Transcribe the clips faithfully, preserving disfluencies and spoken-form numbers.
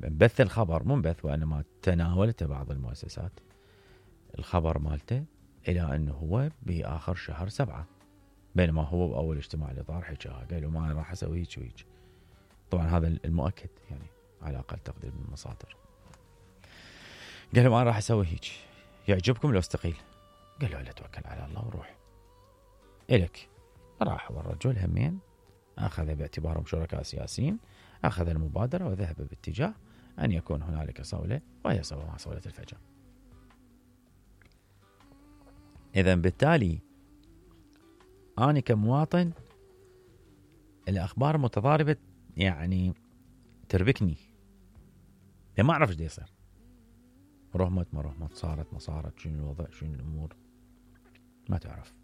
بث الخبر، مو بث وانما تناولته بعض المؤسسات الخبر مالته الى انه هو باخر شهر سبعة، بينما هو باول اجتماع الاطار حكاها قال له ما راح اسوي هيك وهيك. طبعا هذا المؤكد يعني على اقل تقدير من المصادر. قال له ما راح اسوي هيك، يعجبكم لو استقيل؟ قال له لا، توكل على الله وروح الك. راح والرجل همين اخذ باعتبارهم شركاء سياسيين، اخذ المبادره وذهب باتجاه ان يكون هنالك صوله، وهي صوله صوله الفجر. اذا بالتالي أنا كمواطن الأخبار متضاربة يعني تربكني، ما أعرف إيش يصير، رحمت ما رحمت، صارت ما صارت، شنو الوضع شنو الأمور ما تعرف.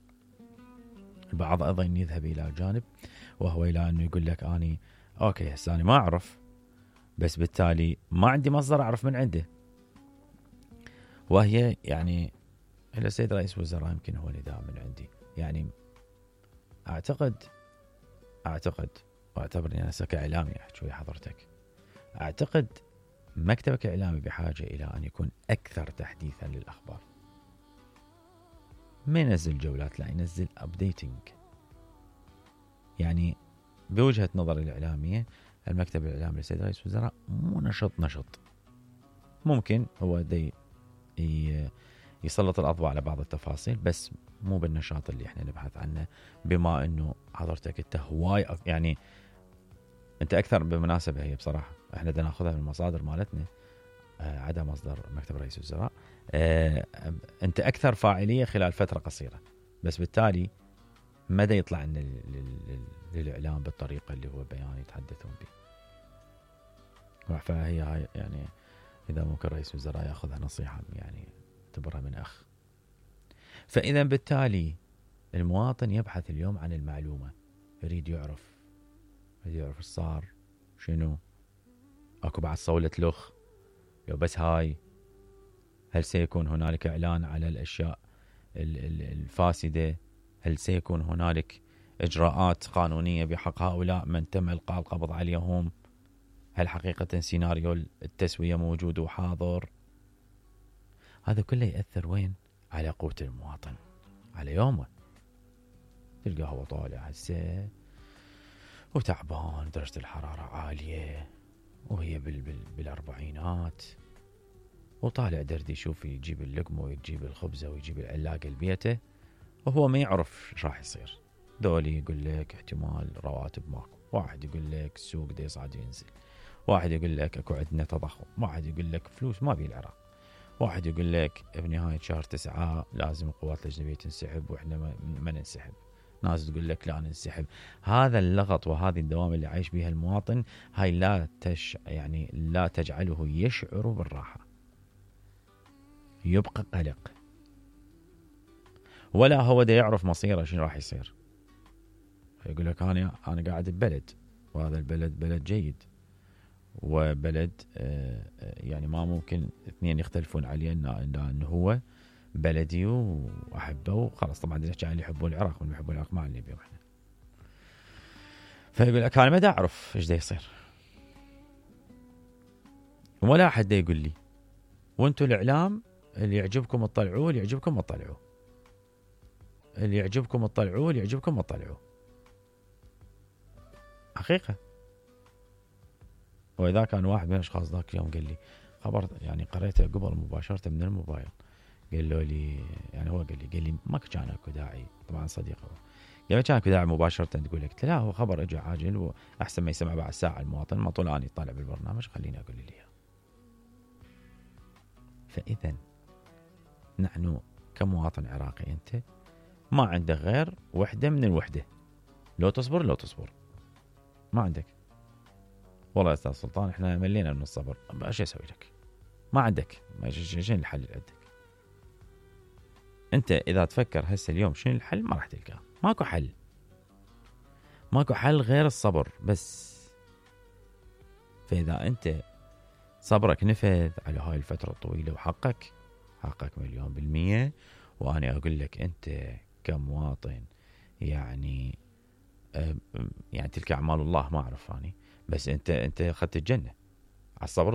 البعض أيضا يذهب إلى جانب وهو إلى أنه يقول لك أني أوكي هسه أنا ما أعرف، بس بالتالي ما عندي مصدر أعرف من عنده، وهي يعني إلى السيد رئيس وزراء يمكن هو نداء من عندي. يعني أعتقد أعتقد واعتبرني أنا كإعلامي أحكي ويا حضرتك، أعتقد مكتبك كإعلامي بحاجة إلى أن يكون أكثر تحديثا للأخبار. ما ينزل جولات، لا ينزل أبديتنج. يعني بوجهة نظر الإعلامية المكتب الإعلامي للسيد رئيس وزراء مو نشط نشط، ممكن هو دي يسلط الأضواء على بعض التفاصيل بس مو بالنشاط اللي احنا نبحث عنه. بما انه حضرتك انت هواي يعني انت اكثر بمناسبة، هي بصراحة احنا بدنا ناخذها من المصادر مالتنا آه عدا مصدر مكتب رئيس الوزراء. آه انت اكثر فاعلية خلال فترة قصيرة، بس بالتالي مدى يطلع لنا للاعلام بالطريقة اللي هو بيان يتحدثون به. فهي هاي يعني اذا ممكن رئيس الوزراء ياخذها نصيحة يعني اعتبرها من اخ. فإذا بالتالي المواطن يبحث اليوم عن المعلومة، يريد يعرف يريد يعرف ايش صار، شنو اكو بعد صولة لخ، لو بس هاي هل سيكون هنالك إعلان على الأشياء الفاسدة، هل سيكون هنالك إجراءات قانونية بحق هؤلاء من تم إلقاء القبض عليهم، هل حقيقة سيناريو التسوية موجود وحاضر. هذا كله يأثر وين؟ على قوت المواطن، على يومه. تلقاه هو طالع هسه وتعبان، درجة الحرارة عالية وهي بال بال بالأربعينات، وطالع درد يشوف يجيب اللقمة ويجيب الخبزة ويجيب العلاقة لبيته، وهو ما يعرف ايش راح يصير. دولي يقول لك احتمال رواتب ماكو، واحد يقول لك السوق دا يصعد وينزل، واحد يقول لك اكو عندنا تضخم، واحد يقول لك فلوس ما بي العراق، واحد يقول لك بنهاية شهر تسعة لازم القوات الأجنبية تنسحب وإحنا ما, ما ننسحب، ناس تقول لك لا ننسحب. هذا اللغط وهذه الدوام اللي عايش بها المواطن هاي لا تش يعني لا تجعله يشعر بالراحة، يبقى قلق، ولا هو دا يعرف مصيره شنو راح يصير. يقول لك أنا أنا قاعد ببلد، وهذا البلد بلد جيد، وبلد يعني ما ممكن اثنين يختلفون عليه انه هو بلدي واحبه وخلاص. طبعا نحكي عن اللي يحبون العراق واللي يحبون العراق ما اللي بيهم احنا. فيقول لك انا ما دا اعرف ايش دا يصير، ولا احد دا يقول لي، وانتم الاعلام اللي يعجبكم تطلعوه، اللي يعجبكم ما تطلعوه، اللي يعجبكم تطلعوه، اللي يعجبكم ما تطلعوه. حقيقة. وإذا كان واحد من الأشخاص ذاك اليوم قال لي خبر يعني قريته قبل مباشرة من الموبايل، قال له لي يعني هو قال لي قال لي ما كان اكو داعي، طبعا صديقه قال ما كان اكو داعي مباشرة تقول لك، لا هو خبر اجى عاجل واحسن ما يسمع بعد ساعة المواطن، ما طول اني طالع بالبرنامج خليني اقول لي اياه. فإذا نحن كمواطن عراقي انت ما عندك غير وحدة من الوحدة، لو تصبر لو تصبر ما عندك. والله يا استاذ سلطان احنا ملينا من الصبر، ايش اسوي لك؟ ما عندك، ما شنو الحل اللي عندك؟ انت اذا تفكر هسه اليوم شنو الحل ما راح تلقاه، ماكو حل، ماكو حل غير الصبر بس. فاذا انت صبرك نفذ على هاي الفترة الطويلة وحقك حقك مليون بالمية، وانا اقول لك انت كمواطن يعني يعني تلك اعمال الله ما اعرف اني، بس انت انت اخذت الجنة على الصبر الصبر